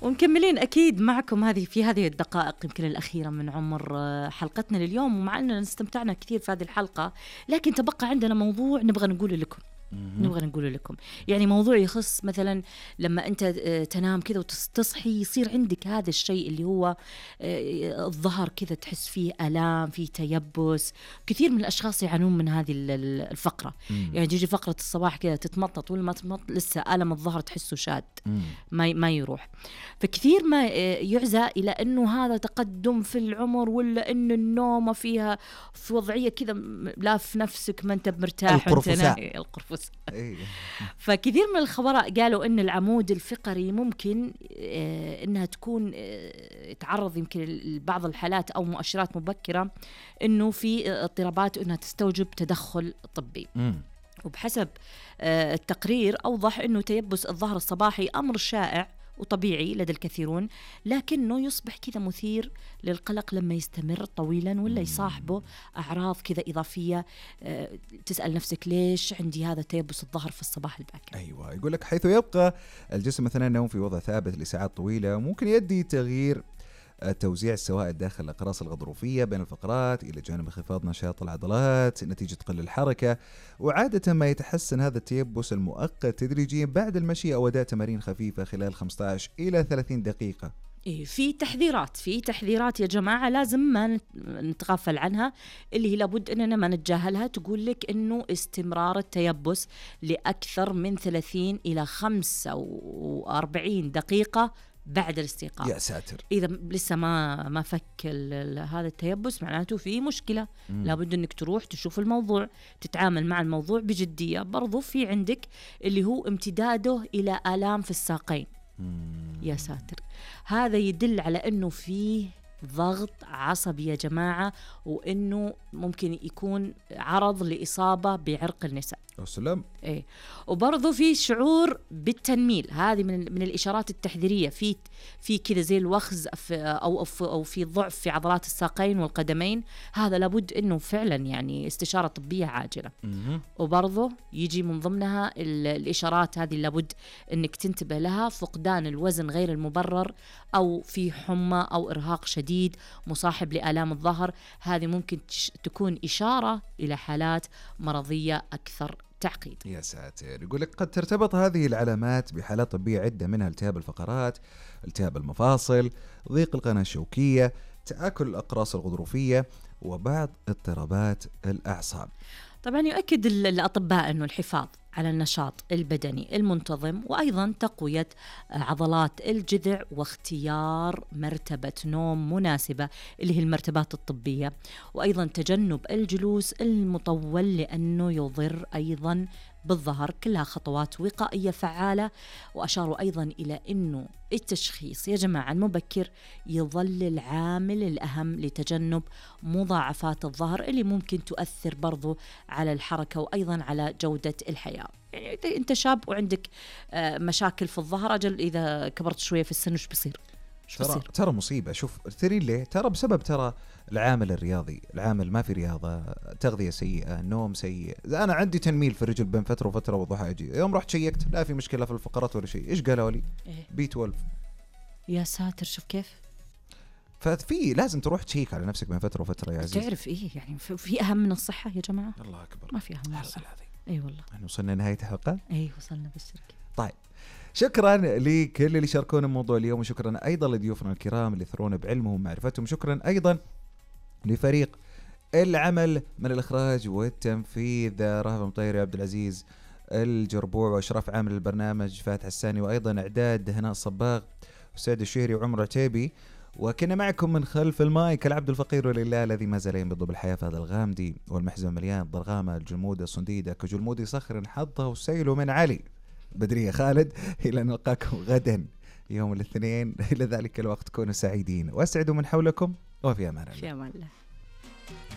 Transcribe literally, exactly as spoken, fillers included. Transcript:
ومكملين أكيد معكم هذه في هذه الدقائق يمكن الأخيرة من عمر حلقتنا لليوم، ومع أننا استمتعنا كثير في هذه الحلقة، لكن تبقى عندنا موضوع نبغى نقوله لكم. نبغى نقول لكم يعني موضوع يخص مثلا لما أنت تنام كذا وتصحي يصير عندك هذا الشيء اللي هو الظهر كذا تحس فيه آلام، فيه تيبس. كثير من الأشخاص يعانون من هذه الفقرة. مم. يعني تيجي فقرة الصباح كذا تتمطط ولا ما تتمطط لسه ألم الظهر تحسه شاد ما ما يروح. فكثير ما يعزى إلى أنه هذا تقدم في العمر، ولا أنه النوم فيها في وضعية كذا لا في نفسك ما أنت مرتاح وأنت نايم. القرفص. فكثير من الخبراء قالوا أن العمود الفقري ممكن آه أنها تكون آه تعرض يمكن لبعض الحالات أو مؤشرات مبكرة أنه في اضطرابات أنها تستوجب تدخل طبي. م. وبحسب آه التقرير أوضح أنه تيبس الظهر الصباحي أمر شائع وطبيعي لدى الكثيرون، لكنه يصبح كذا مثير للقلق لما يستمر طويلا ولا يصاحبه أعراض كذا إضافية. أه تسأل نفسك ليش عندي هذا تيبس الظهر في الصباح الباكر؟ أيوة، يقول لك حيث يبقى الجسم مثلا النوم في وضع ثابت لساعات طويلة ممكن يؤدي تغيير توزيع السوائل داخل الأقراص الغضروفية بين الفقرات إلى جانب انخفاض نشاط العضلات نتيجة قل الحركة. وعادة ما يتحسن هذا التيبس المؤقت تدريجيا بعد المشي أو أداء تمارين خفيفة خلال خمسة عشر إلى ثلاثين دقيقة. إيه في تحذيرات في تحذيرات يا جماعة لازم ما نتغافل عنها، اللي هي لابد أننا ما نتجاهلها. تقول لك أنه استمرار التيبس لأكثر من ثلاثين إلى خمسة وأربعين دقيقة بعد الاستيقاظ. يا ساتر. إذا لسه ما ما فك هذا التيبس معناته في مشكلة. مم. لابد أنك تروح تشوف الموضوع، تتعامل مع الموضوع بجدية. برضو في عندك اللي هو امتداده إلى آلام في الساقين. مم. يا ساتر، هذا يدل على أنه فيه ضغط عصبي يا جماعة، وأنه ممكن يكون عرض لإصابة بعرق النساء. السلام. إيه. وبرضو في شعور بالتنميل، هذه من من الإشارات التحذيرية. في في كذا زي الوخز أو أو في ضعف في عضلات الساقين والقدمين. هذا لابد إنه فعلا يعني استشارة طبية عاجلة. م- وبرضو يجي من ضمنها الإشارات هذه لابد إنك تنتبه لها: فقدان الوزن غير المبرر، أو في حمى أو إرهاق شديد مصاحب لآلام الظهر. هذه ممكن تكون إشارة إلى حالات مرضية أكثر تعقيد. يا ساتر. يقول لك قد ترتبط هذه العلامات بحالات طبية عدة، منها التهاب الفقرات، التهاب المفاصل، ضيق القناة الشوكية، تآكل الأقراص الغضروفية، وبعض اضطرابات الأعصاب. طبعا يؤكد الأطباء أنه الحفاظ على النشاط البدني المنتظم، وأيضا تقوية عضلات الجذع، واختيار مرتبة نوم مناسبة اللي هي المرتبات الطبية، وأيضا تجنب الجلوس المطول لأنه يضر أيضا بالظهر. كلها خطوات وقائية فعالة. وأشاروا أيضا إلى أنه التشخيص يا جماعة المبكر يظل العامل الأهم لتجنب مضاعفات الظهر اللي ممكن تؤثر برضو على الحركة وأيضا على جودة الحياة. يعني إذا أنت شاب وعندك مشاكل في الظهر، أجل إذا كبرت شوية في السن وش بيصير؟ ترى ترى مصيبة. شوف ترى ليه؟ ترى بسبب ترى العامل الرياضي، العامل ما في رياضة، تغذية سيئة، نوم سيء. أنا عندي تنميل في الرجل بين فترة وفترة وضحى أجي يوم رحت شيكت لا في مشكلة في الفقرات ولا شيء. إيش قالوا لي؟ إيه؟ بي اثناشر. يا ساتر، شوف كيف. ففي لازم تروح تشيك على نفسك بين فترة وفترة يا عزيز. تعرف إيه يعني في أهم من الصحة يا جماعة؟ الله أكبر، ما في أهم من الصحة. أي أيوة والله. يعني وصلنا نهاية الحلقة. أي وصلنا بالشركة. طيب شكرا لكل اللي شاركونا الموضوع اليوم، وشكرا أيضا لضيوفنا الكرام اللي ثرونا بعلمهم ومعرفتهم. شكرا أيضا لفريق العمل من الإخراج والتنفيذ: رهف مطيري، عبد العزيز الجربوع، وإشراف عامل البرنامج فاتح الساني، وأيضا إعداد هناء الصباغ وسعد الشهري وعمر عتيبي. وكنا معكم من خلف المايك العبد الفقير ولله الذي ما زال ينبض بالحياة في هذا الغامدي والمحزن مليان ضرغامة الجمودة الصنديدة كجلمودي صخر حظه وسيله من علي. بدرية خالد، إلى نلقاكم غدا يوم الاثنين. إلى ذلك الوقت كونوا سعيدين واسعدوا من حولكم، وفي أمان الله. في أمان الله.